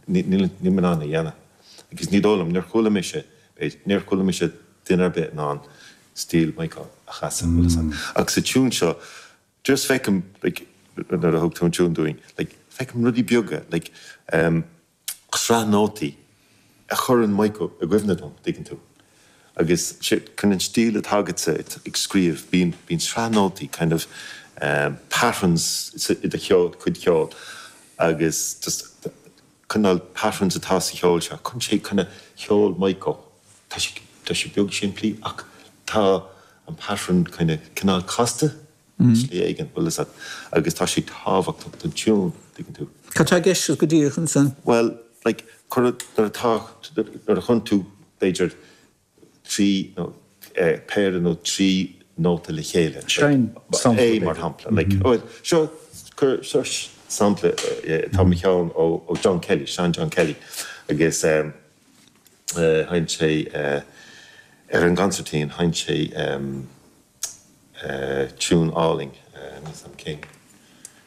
Níl mé in ann a dhéanamh. Agus ní dóigh liom, níor chuala mise, b'fhéidir, níor chuala mise duine ar bith in ann stíl Maidhc a chasadh, bhfuil fhios agat. Ach sa tiún seo, just feicim, like, nuair a thug tú an tiún dúinn, like, feicim rudaí beaga, like, em, sraith nótaí a chuireann Maidhc i gcuimhne dom, tuigeann tú. Agus chun an stíl atá agatsa ag scríobh, bíonn, bíonn sraith nótaí, kind of, em, patterns i do cheol, cuid cheoil agus just cineál patterns atá sa cheol seo, chun sé kind of cheol Maidhc. Tá sé, tá sé beag simplí ach tá an pattern kind of cineál casta. i slí éigin, bhfuil fhios agat, agus tá sé tábhachtach don tiún, tuigeann tú. Cad tá i gceist go díreach ansan? Bhuel, like, cuir, nuair atá, nuair a chuireann tú, b'fhéidir, trí nó, eh, péire nó trí nóta le chéile, like, Seinn sampla, A mar shampla, like, bhuel, seo, cuir, seo sampla, eh, atá i mo cheann ó, ó John Kelly, Sean John Kelly, agus, eh, eh, sheinn sé, eh, ar an gconsairtín, sheinn sé, em, tiún álainn, níl 's a'm cén.